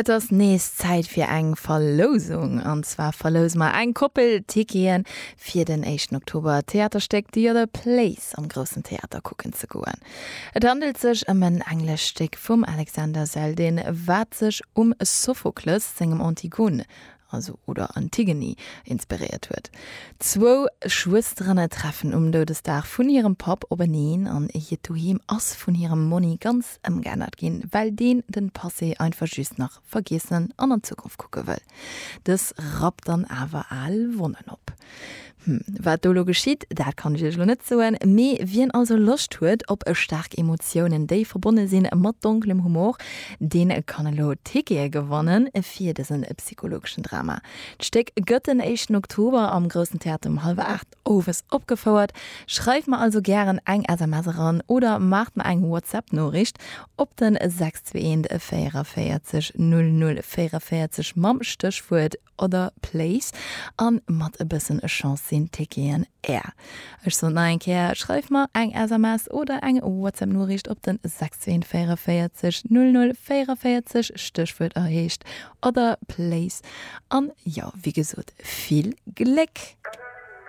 Et ass nees Zäit fir eng Verlousung. An zwar verlouse mer eng Koppel Ticketen fir den éischten Oktober d'Theaterstéck The Other Place am Groussen Theater kucken ze goen. Et handelt sech ëm en englescht Stéck vum Alexander Zeldin, wat sech um Sophokles sengem Antigone also oder Antigone, inspiréiert huet. Zwou Schwësteren treffen um Doudesdag vun hirem Papp openeen an hiert Doheem ass vun hirem Monni ganz ëmgeännert ginn, well deen den Passé einfach just nach vergiessen an an d'Zukunft kucke wëll. Dës rappt dann awer al Wonnen op. Hm, wat do lo geschitt, dat kann ech iech lo net soen, mee wien also Loscht huet op staark Emotiounen, déi verbonne sinn mat donkelem Humor, deen kann elo Tickete gewanne fir dësen psychologeschen Drama. D'Stéck gëtt den éischten Oktober am Groussen Theater um hallwer 8 owes opgefouert. Schreift mer also gären eng SMS eran oder maacht mer eng WhatsApp-Noriicht op den 621 44 00 44 mam Stéchwuert Other Place an mat e bëssen Chance sinn d'Ticketen är. Ech soen nach eng Kéier, schreif mer eng SMS oder eng WhatsApp Noriicht op den 16 44 00 44, Stéchwuert erheescht Other Place an jo, wéi gesot, vill Gléck!